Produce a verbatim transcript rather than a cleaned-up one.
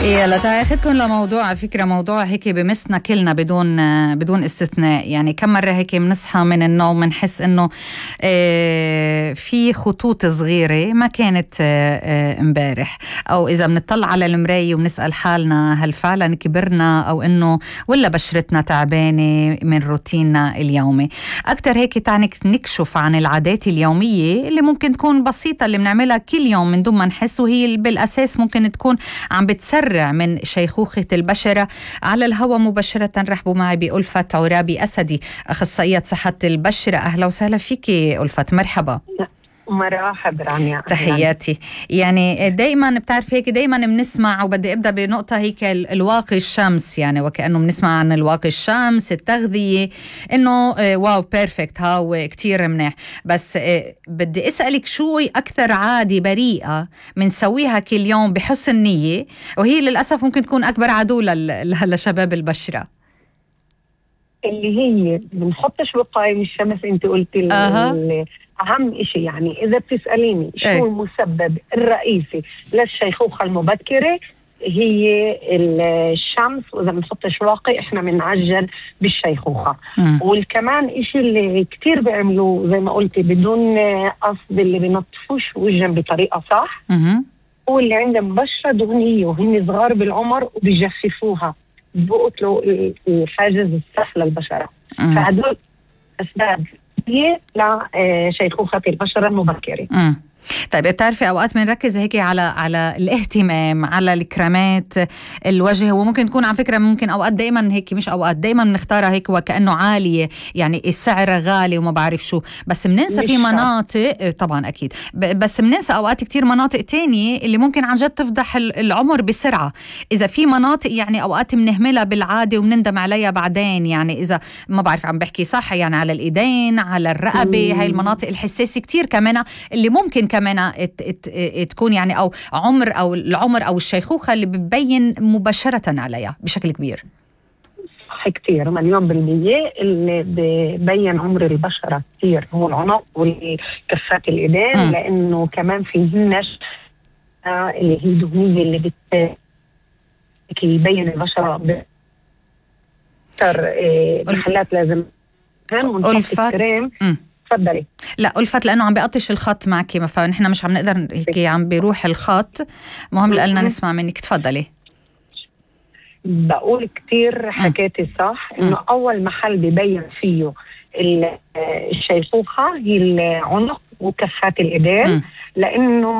يلا تعالي اخذكم لموضوع، على فكره موضوع هيك بمسنا كلنا بدون بدون استثناء. يعني كم مره هيك بنصحى من النوم بنحس انه اه في خطوط صغيره ما كانت اه امبارح، او اذا بنطلع على المرايه وبنسال حالنا هل فعلا كبرنا او انه ولا بشرتنا تعبانه من روتيننا اليومي. اكثر هيك تعني نكشف عن العادات اليوميه اللي ممكن تكون بسيطه اللي بنعملها كل يوم من دون ما نحس، وهي بالاساس ممكن تكون عم بتسرع من شيخوخة البشرة. على الهواء مباشرة رحبوا معي بألفت عرابي أسدي، أخصائية صحة البشرة. أهلا وسهلا فيكي ألفت، مرحبا. مرحبا رانيا، تحياتي. يعني دايما بتعرف هيك دايما بنسمع، وبدي ابدا بنقطه هيك الواقي الشمس، يعني وكانه بنسمع عن الواقي الشمس، التغذيه، انه واو بيرفكت هاو كتير منيح. بس بدي اسالك شو اكثر عاده بريئه بنسويها كل يوم بحسن نيه، وهي للاسف ممكن تكون اكبر عدو لشباب البشره؟ اللي هي بنحطش وقاية من الشمس. انت قلتي أه. أهم إشي، يعني إذا بتسأليني شو ايه؟ المسبب الرئيسي للشيخوخة المبكرة هي الشمس، وإذا بنحطش واقي إحنا بنعجل بالشيخوخة. م. والكمان إشي اللي كتير بيعملوه زي ما قلتي بدون قصد، اللي بنطفوش وجهن بطريقة صح، م. هو اللي عندهم بشرة دهنية وهن صغار بالعمر وبيجففوها، بقتلوا الحاجز الصح للبشرة. م. فهدول أسباب هي لشيخوخة البشرة المبكرة. امم طيب بتعرفي اوقات بنركز هيك على على الاهتمام على الكريمات الوجه، وممكن تكون على فكره ممكن اوقات دائما هيك مش اوقات دائما بنختارها هيك وكانه عاليه، يعني السعر غالي وما بعرف شو، بس بننسى في مناطق طبعا اكيد، بس بننسى اوقات كتير مناطق تانية اللي ممكن عن جد تفضح العمر بسرعه. اذا في مناطق يعني اوقات بنهملها بالعاده وبنندم عليها بعدين، يعني اذا ما بعرف عم بحكي صح، يعني على الايدين، على الرقبه، هاي المناطق الحساسه كتير كمان اللي ممكن كمان ات ات تكون يعني او عمر او العمر او الشيخوخه اللي بتبين مباشره عليها بشكل كبير. صح، كتير مليون بالمية اللي ببين عمر البشره كتير هو العنق والكفات الايدين، م. لانه كمان فيهن اللي هي دهنيه اللي بت يبين البشره اكثر محلات لازم ونحط الكريم. تفضلي. لا ألفت لأنه عم بيقطش الخط معك، فنحن مش عم نقدر هيك، عم بيروح الخط، مهم لنا نسمع منك. تفضلي. بقول كتير حكيتي صح، إنه أول محل بيبين فيه الشيخوخة هي العنق وكفات الإيدين، لأنه